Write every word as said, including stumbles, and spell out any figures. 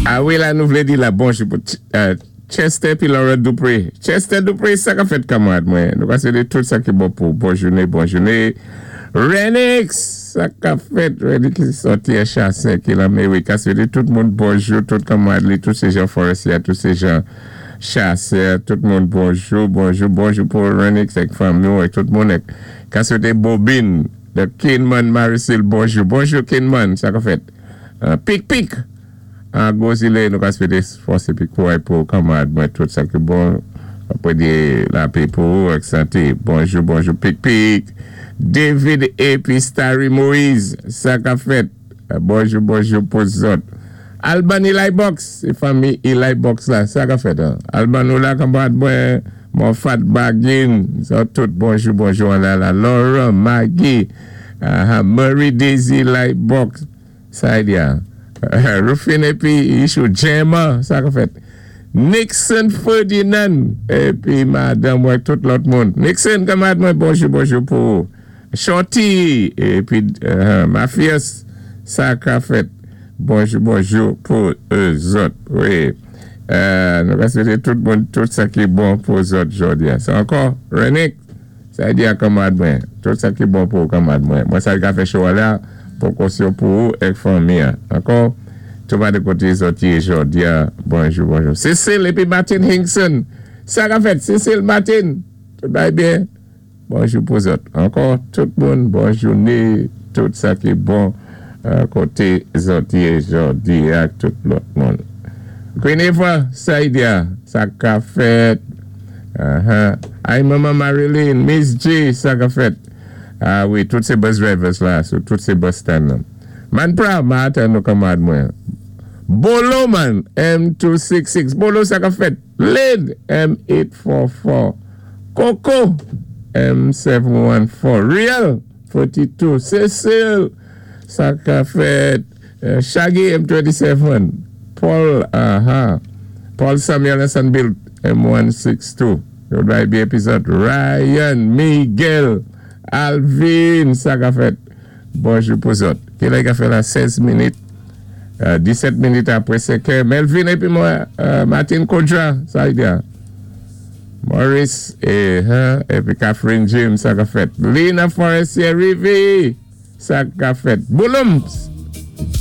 A wi, la nou vlé di la bonjou pou euh, Chester pi Laura Dupré. Chester Dupré, sa ka fèt, kanmarad mwen. Nou ka swété tout sa ki bon pou bon jouné, bon jouné. Renix, sa ka fèt. Renix ki sòti a Chassin, ki la, mé wi, ka swété tout moun bonjou, tout kanmarad li, tout sé jan Forestier, tout sé jan Chassin, tout moun bonjou, bonjou, bonjou pou Renix ak fanmi ak tout moun. Ka swété Bobine, de Kinman Maricel, bonjou, bonjou Kinman, sa ka fèt. Uh, pik, pik. An Gozile, nou ka swété fòs épi kouray pou kanmarad mwen, tout sa ki bon, apwé di lapè pou ou ak santé. Bonjou, bonjou, pik pik. David épi Starry Moïse, sa ka fèt. Bonjou, bonjou pou zòt. Alban Eli Box, sé fanmi Eli Box la, sa ka fèt. Alban nou la, kanmarad mwen, Mofat Bagin, sa tout, bonjou, bonjou, an la la. Laura, Maggie, uh, Murray Daisy Eli Box, sa y diya. Rufin épi Ishou Gemma, sa ka fèt. Nixon Ferdinand, épi madanm mwen, tout lòt moun. Nixon, kanmarad mwen, bonjou, bonjou pou Shorty, épi uh, Mafias, sa ka fèt. Bonjou, bonjou pou zòt. Wi. Euh, nou ka swété tout moun, tout sa ki bon pou zòt jòdi. Sa ankò, Renik, sa di a kanmarad mwen. Tout sa ki bon pou kanmarad mwen. Mwen sa ka fè show la, pou konsyon pou ou ek fanmi. Ankò, tout pa de koté zòt yé jòdi. Bonjou, bonjou. Cecile épi Martin Hinkson. Sa ka fèt, Cecile Martin. Tout bay byen. Bonjou pou zòt. Ankò, tout moun, bonjou ni, tout sa ki bon koté zòt yé jòdi ak tout lòt moun. Queen Eva, sa y diya, sa ka fèt. Ay, Mama Marilyn, Miss G, sa ka fèt. Ah wi, tout sé bus drivers la, so tout sé bus stand nan. Man pra, ma atan nou kanmarad mwen. Bolo man, M two six six. Bolo, sa ka fèt. Lid, M eight four four. Coco, M seven one four. Real, forty-two. Cecil, sa ka fèt. Shaggy, M twenty-seven. Paul, aha. Paul Samuel Sanbill, M one six two. Yo bay bi epizòd. Ryan, Miguel, Alvin, sa ka fèt. Bonjou pou zòt. Ki lè ka fè la sèz minit, disèt minit apwé senkè. Melvin épi mwen, Martin Kodra, sa y diya. Maurice, épi Catherine James, sa ka fèt. Lina Forestier Rivi, sa ka fèt. Bouloums,